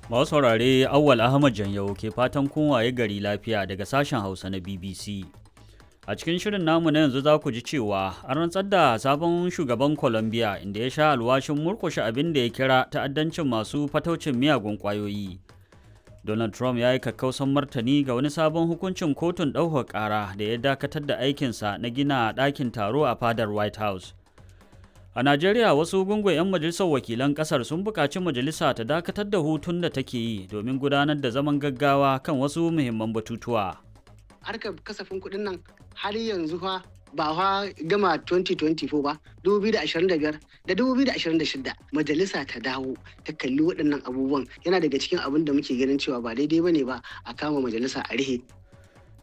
Masu saurare, Awwal Ahmad Janyau ke fatan kun waye gari lafiya daga sashen Hausa na BBC. A cikin shirin namu na yanzu za ku ji cewa an rantsar da sabon shugaban Colombia, inda ya sha alwashin murkushe abin da ya kira ta'addancin masu fataucin miyagun ƙwayoyi. Donald Trump ya yi kakkausan martani ga wani sabon hukuncin kotun ɗaukar ƙara da ya dakatar da aikinsa na gina ɗakin taro a fadar White House. A Najeriya, wasu gungun 'yan majalisar wakilan ƙasar sun buƙaci majalisa ta dakatar da hutun da take yi domin gudanar da zaman gaggawa kan wasu muhimman batutuwa. Harkar kasafin kuɗin nan har yanzu fa ba fa gama 2024 ba, 2025 da 2026. Majalisa ta dawo ta kalli waɗannan abubuwan. Yana daga cikin abin da muke ganin cewa ba daidai bane ba a kama majalisa a rihe.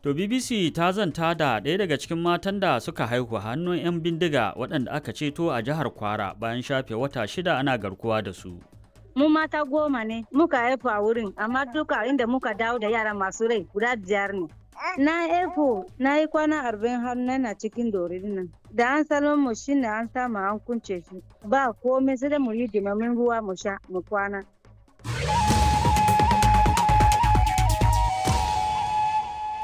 To, BBC ta zanta da ɗaya daga cikin matan da suka haihu hannun 'yan bindiga waɗanda aka ceto a jihar Kwara bayan shafe wata 6 ana garkuwa da su. Mu mata 10 ne muka haifu a wurin, amma duka inda muka dawo da yara masu rai guda biyar ne. Na haifu, na yi kwana 40 har na cikin dorin nan. Da an salon mu shine an samu an kunce shi. Ba komai, sai dai mu yi dimamin ruwa mu sha mu kwana.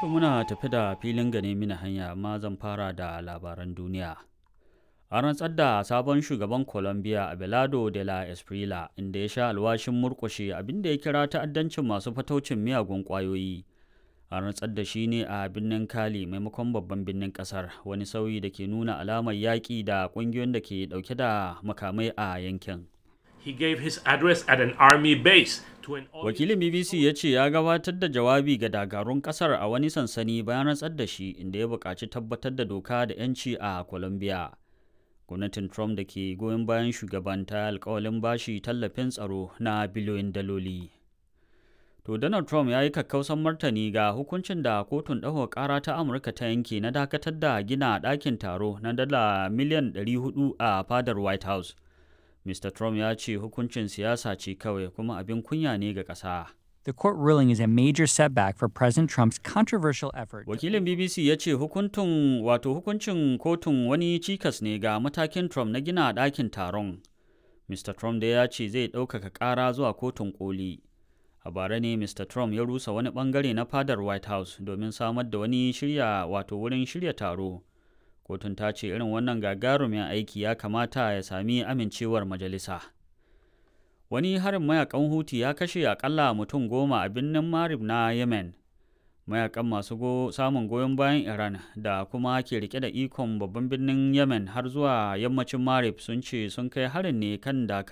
To, muna tafi da filin gane mini hanya, amma zan fara da labaran duniya. An rantsar da sabon shugaban Colombia, Abelardo de la Espriella, inda ya sha alwashin murƙushe abin da ya kira ta'addancin masu fataucin miyagun ƙwayoyi. An rantsar da shi ne a birnin Cali maimakon babban birnin ƙasar, wani sauyi da ke nuna alamar yaƙi da ƙungiyoyin da ke ɗauke da makamai a yankin. He gave his address at an army base to an Wakilin BBC ya ce ya gabatar da jawabi ga dakarun kasar a wani sansani bayan rantsar da shi, inda ya buƙaci tabbatar da doka da 'yanci a Colombia. Gwamnatin Trump da ke goyon bayan shugaban ta alkawalin bashi tallafin tsaro na biliyoyin daloli. To, Donald Trump ya yi kakkausan martani ga hukuncin da kotun ɗaukar ƙara ta Amurka ta yanke na dakatar da gina ɗakin taro na dala miliyan 400 a fadar White House. Mr. Trump ya ce hukuncin siyasa ce kawai kuma abin kunya ne ga ƙasa. The court ruling is a major setback for President Trump's controversial effort. Wakilin BBC ya ce hukuntun wato hukuncin kotun wani cikas ne ga matakin Trump na gina ɗakin taron. Mr. Trump da ya ce zai ɗaukaka ƙara zuwa kotun koli. A bara ne Mr. Trump ya rusa wani ɓangare na fadar White House domin samar da wani shirya wato wurin shirya taro. Kotun ta ce irin wannan gagarumin aiki ya kamata ya sami amincewar majalisa. Wani harin mayakan Huti ya kashe akalla mutum 10 a birnin Marib na Yemen. Mayakan masu samun goyon bayan Iran da kuma ke rike da ikon babban birnin Yemen har zuwa yammacin Marib sun ce sun kai harin ne kan dakaru.